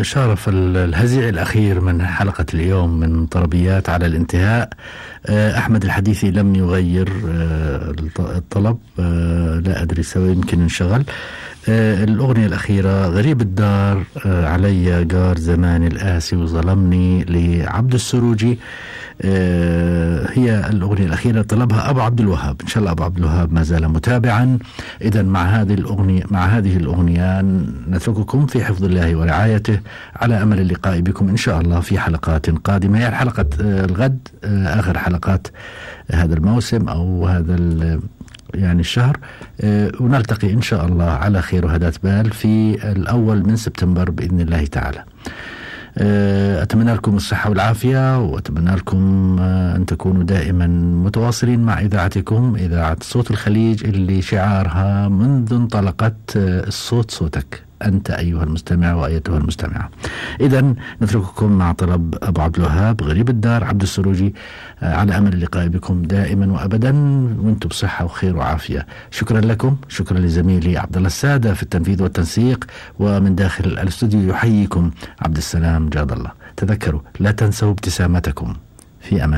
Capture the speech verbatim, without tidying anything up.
شارف الهزيع الأخير من حلقة اليوم من طربيات على الانتهاء. أحمد الحديثي لم يغير الطلب، لا أدري سوى، يمكن انشغل. الأغنية الأخيرة غريب الدار، علي جار زمان الآسي وظلمني، لعبد السروجي. هي الأغنية الأخيرة طلبها أبو عبد الوهاب. إن شاء الله أبو عبد الوهاب ما زال متابعا. إذا مع هذه الأغنية مع هذه الأغنية نترككم في حفظ الله ورعايته، على أمل اللقاء بكم إن شاء الله في حلقات قادمة. هي حلقة الغد آخر حلقات هذا الموسم أو هذا يعني الشهر، ونلتقي إن شاء الله على خير وهداة بال في الأول من سبتمبر بإذن الله تعالى. أتمنى لكم الصحة والعافية، وأتمنى لكم أن تكونوا دائما متواصلين مع إذاعتكم، إذاعة صوت الخليج، اللي شعارها منذ انطلقت الصوت صوتك أنت أيها المستمع وأيتها المستمعة. إذن نترككم مع طلب أبو عبد الوهاب غريب الدار، عبد السروجي، على أمل اللقاء بكم دائما وأبدا وأنتم بصحة وخير وعافية. شكرا لكم، شكرا لزميلي عبد الله السادة في التنفيذ والتنسيق، ومن داخل الاستوديو يحييكم عبد السلام جاد الله. تذكروا لا تنسوا ابتسامتكم. في أمان.